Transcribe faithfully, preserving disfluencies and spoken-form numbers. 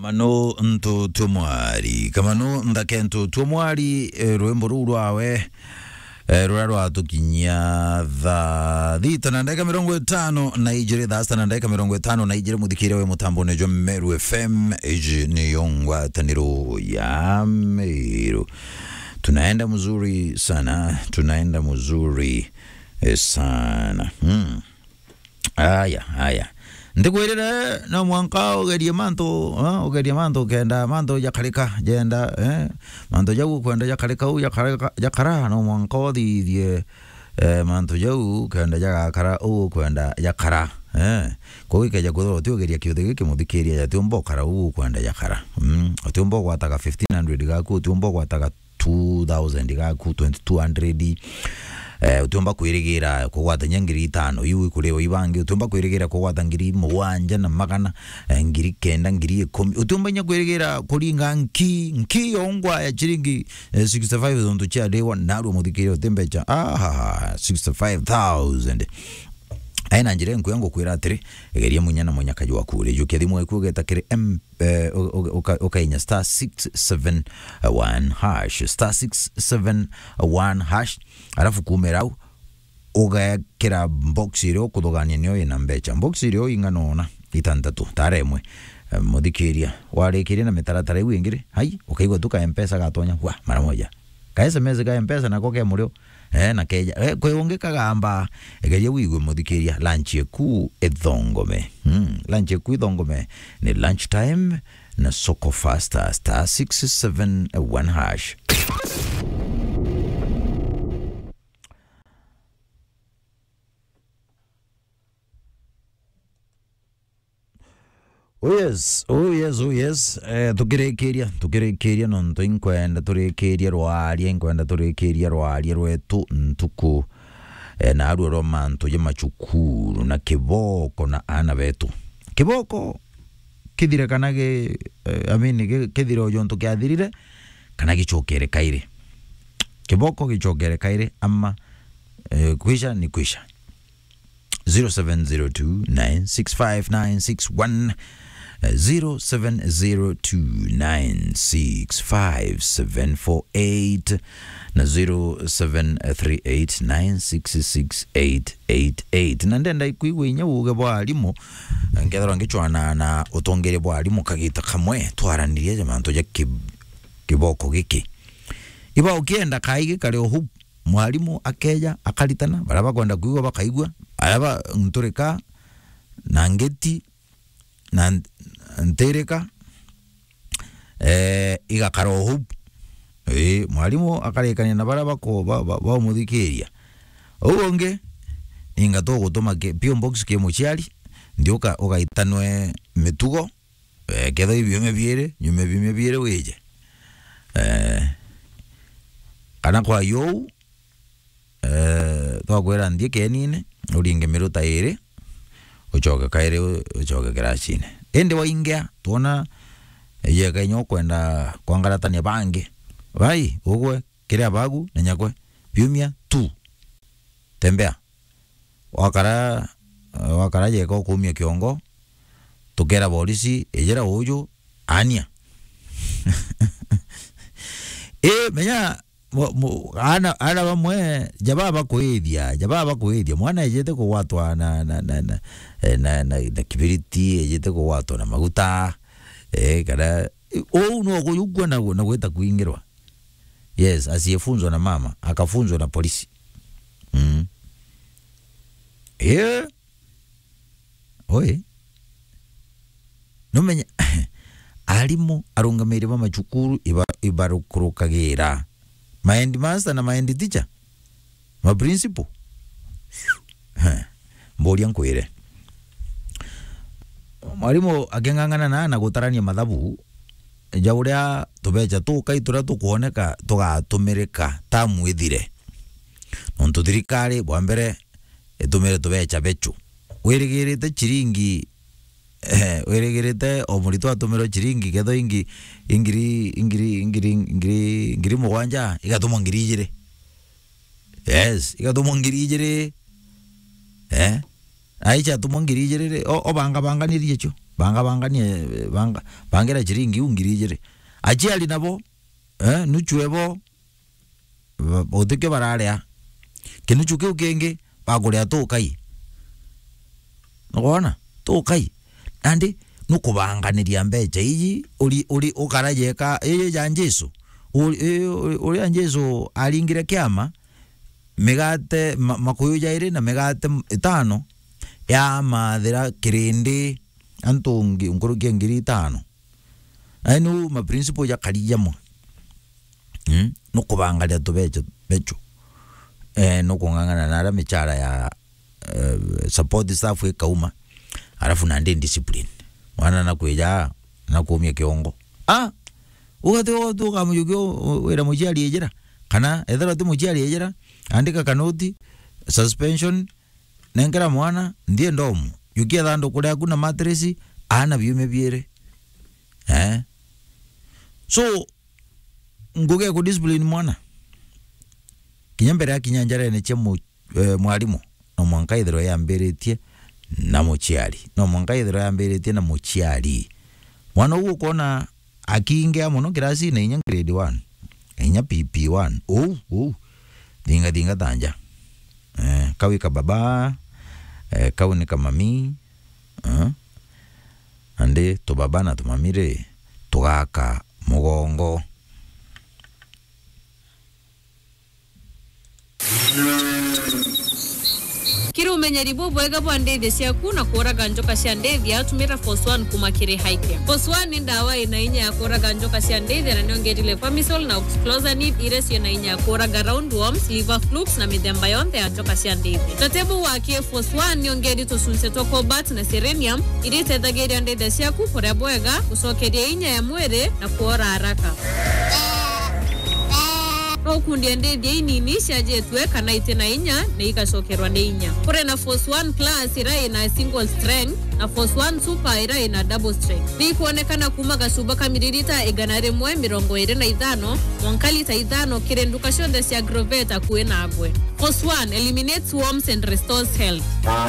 Kamano ntu twe mwari, kamano nthake ntu twe mwari, eh, rwimbo ruu rwawe, eh, ruria rwatukinyia thaa thita na ndagika mirongo itano na ijiri, thaa sita na ndagika mirongo itano na ijiri, muthikiria we mutambone jwa Meru F M, iji niyo ngwataniro ya Meru. Tunaenda mzuri sana, tunaenda mzuri, eh, sana. Hmm. Aya, aya. Ndikwirire no mwanka ugerie mantu, eh, ugerie mantu kenda mantu jakarika, jenda, eh, mantu jau ukwenda jakarika, u jakarika, jakara, no mwanka uthithie, eh, mantu jau kenda jagakara, u ukwenda jakara, eh. Kwou ikeja kwithirwa uti ugeria kiuthi giki, muthikiria, jatiumba ukara, u ukwenda jakara. Mm, utiumba ugwataga fifteen hundred gaku, utiumba ugwataga two thousand gaku, twenty-two hundred. Eh, utiumba kwirigira kugwatania ngiri itano, iu ikuriwa ibangi, utiumba kwirigira kugwata ngiri mugwanja na magana, eh, ngiri kenda, ngiri ikumi. Utiumba inya kwirigira kuringa nki, nki yongwa ya chiringi, eh, sixty-five tontu chiariwa, narua muthikiria uti mbecha. Ahaha, sixty-five thousand. Aina njira enkuya ngukwira atiri, geria munya na munyakaji waku, rijukia thimu eku ugeta kiri M eh, u-, u-, uka-, ukainya star six seven one hash, star six seven one hash, alafu kuumira au, ugekira box iria ukuthugania niyo ina mbecha. Box iria ing'ana ona, itantatu, tara imwe. Eh, muthikiria, warikiria na mitaratara iu ingi ri, hai, ukaigua tu ka M-Pesa gatonya, wa, mara moja. Ka S M S ka M-Pesa nako ke murio, Eh, na keja, eh, kwi ungi kagamba, geria wigue muthikiria, lunch eku ithongome. Hmm, lunch eku ithongome ni lunch time na Soko Fasta, star six seven one hash. Oh yes, oh yes, oh yes. Eh, tukirikiria, tukirikiria nontu inkwenda turikirie rwaria, inkwenda turikirie rwaria rwetu ntuku, eh, na arua rwa mantu ja macukuru na kiboko na ana betu. Kiboko kithire kana gi-, eh, I mean, gi-, kithire o jontu kiathirire, kana gicokere kairi. Kiboko gicokere kairi ama, eh, kwisha ni kwisha. Zero seven zero two nine six five nine six one, eh, zero seven zero two nine six five seven four eight na zero seven three eight nine six six eight eight eight. Na ndenda ikwigua inya uuge bwa arimu, nkethirwa ngichwana na utongeria bwa arimu kagita kamwe, twaranirie ja mantu ja ki-, kiboko giki. Iba ukienda kaigi kari o hau, mwarimu akeja, akaritana, baria bakwenda kwigua bakaigua, baria ba-, nturika, na ngeti, na nt-, ntirika, eh, igakara o hau. Ii, mwarimu akarikania na baria bako-, ba-, ba-, baumuthikiria. Uu ungi, ninga tugutuma ki-, P O box ki muciari, nthi uka-, ugaitanwe mitugo, eh, ketho ibiumia biiri, nyuma biumia biiri wije. Eh, kana kwa yuu, eh, twakwira nthie kienine, uringe miruta iiri, ucoke kairi u-, ucoke kiracine. Indi waingia, twona yeka inya ukwenda kwangaratania bangi. Bai, ugwe, kiria bagu, na nyakwe, biumia tu. Tembea. Wakara, wakara yeka ukumia kiongo, tukera borisi, ijira uju, ania. Ii, menya, mo-, mo-, ana, ana bamwe, jaba bakwithia, jaba bakwithia. Mwana ejete kugwatwa na, na, na, na, eh, na, na, na kibiriti, ejete kugwatwa na maguta, eh, kana, uu no kuyukua na, na gwita kwingirwa. Yes, asiyefunzwa na mama, akafunzwa na polisi. Mm. Eh? Oi. Numenya, arimu arungamiri ba macukuru iba-, ibarukurukagira. Ma headmaster na ma head teacher. Ma principal. He. Mburia nkwire. Mwarimu aking'ang'ana na, na gutarania mathabu ja uria tubecha tukai turia tukwoneka tugatumirika tamu ithire. Nontu thirikari, bwa mbere, itumire tubecha bechu. Wirigirite chiringi, eh, wirigirite o muritwa atumirwe chiringi ketho ingi, ingiri, ingiri, ingiri, ingiri, ngiri mugwanja, igatumwa ngiri ijiri. Yes, igatumwa ngiri ijiri. Eh? Aicha atumwa ngiri ijiri ri, o-, obangabanganirie icio. Banga, banganie, banga, bangira ciringi iu ngiri ijiri. Aciari nabo, eh, nuchu ebo, ba-, utikio bararia. Kinuchu kiu kingi, bakuria tukai. Nukwona? Tukai. Nandi, nukubanganiria mbeca iji, uri, uri, ukara jeka, iji ja Jesu. Uri, uri, uri, uria Jesu aringire kiama, migate, ma-, makuyu jairi na migate m-, itano, yamathira kirindi, antu ngi-, nkuruki ya ngiri itano. Ai nu ma principle jakari jamwe. Mm? Nukubangaria tubecho, becho. Eh, nukung'ang'ana na aria michara ya, eh, support staff ikauma. Alafu nandi discipline. Mwana nakwija, nakuumia kiongo. Ah! Ugati, ugati ukamujukia u-, u-, wira muciari ejira. Kana, ethirwa ti muciari ejira, andika kanoti, suspension, nenkera mwana, nthie ndomu. Jukia thanduku riaku na mattress, aana biume biiri. Eh? So, ngugi ya kudiscipline mwana. Kinya mbere ya kinya njarene cia mu-, eh, mwarimu, no mwanka ithirwe yambiritie na muciari. No mwanka ithirwe yambiritie na muciari. Mwana uu ukona akiingia mono kirasine inya grade one, inya P P one. Uu, uu. Thinga, thinga ta nja. Eh, kau ika baba, eh, kau ni kamami, eh. Nandi tubaba na tumami ri, tugaka mugongo. Kiri umenyeri bubwega bwa ndithia ciaku na kuraga njoka cia ndithia, tumira Force One kuma kiri Highcare. Force One ni ndawa ina inya ya kuraga njoka cia ndithia na niongerire Pamisol na Oxyclosanid iria ciina inya ya kuraga roundworms, liver flukes na mithemba yonthe ya njoka cia ndithia. Tatebu wa ki Force One niongeri tucunce twa cobalt na selenium iria itethagiria ndithia ciaku kuria bwega, gucokeria inya ya mwiri na kuora haraka. No ukundie ndithia inini ciajitue kana iti na inya na igacokerwa ni inya. Kuri na Force One Plus iria ina single strength na Force One Super iria ina double strength. Ni ikwonekana kuma gacuba ka miririta igana rimwe mirongo iri na ithano mwanka lita ithano kiri nduka cionthe cia Agrovet akui nagwe. Force One eliminates worms and restores health.